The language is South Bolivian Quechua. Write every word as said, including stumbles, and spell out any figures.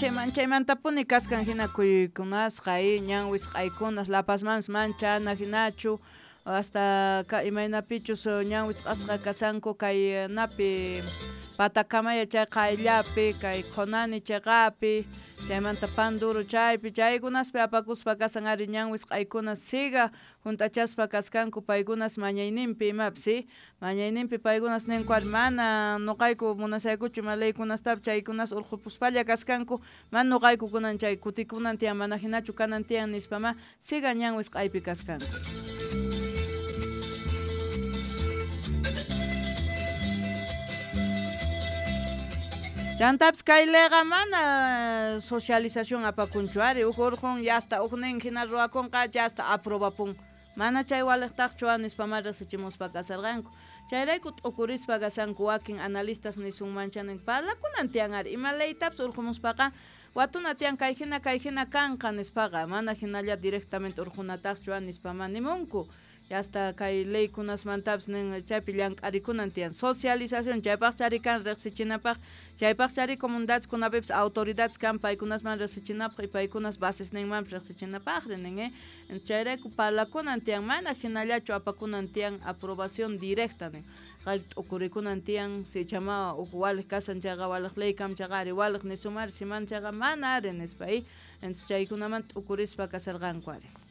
Manchay manchaymantapuni kaskan hina kuyuykunasqa y ñan wisq'aykunas La Pazmanpis manchana hinachu hasta ka imaynapichus ñan wisq'asqa kasanku kay napi Patacamaya chay qayllapi kay Qhonani chayqapi chaymanta Panduro chaypi chaykunaspi apakuspa kasan ari ñan wisq'aykuna siga junt'achaspa kaskanku paykunas mañayninpi imapis si mañayninpi paykunas ninku ari mana nuqayku munasaykuchu ima leykunastapis chaykunas urqhupuspalla kaskanku mana nuqayku kunan chay kutikunan tiyan mana hinachu kanan tiyan nispama siga ñan wisq'aypi kaskanku. Chantapis kay leyqa mana socialización apakunchu ari uj urqun yasta ujnin hina ruwakunqa yasta aprobapun mana chay waliqtaqchu nispama riqsichimuspa kasarqanku chayrayku t'ukurispa kasanku wakin analistas nisunmancha nin parlakunan tiyan ari ima leytapis urqumuspaqa watuna tiyan kay hina kay hina kanqa nispaqa mana hinalla directamente urqunataqchu nispama nimunku hasta kay leykunasmantapis nin chaypi llank'arikunan tiyan socialización chaypaq chari kan riqsichinapaq chaypaq chari comunidadeskunapipis autoridades kan paykunasman riqsichinapaq y paykunas basesninmanpis riqsichinapaqri nin eh chayrayku parlakunan tiyan mana hinallachu apakunan tiyan aprobación directa nin qay t'ukurikunan tiyan sichama uj waliq kasan chayqa waliq ley kam chayqa ari waliq nisumari siman chayqa mana ari nispa y entonces chaykunaman t'ukurispa kasarqanku ari.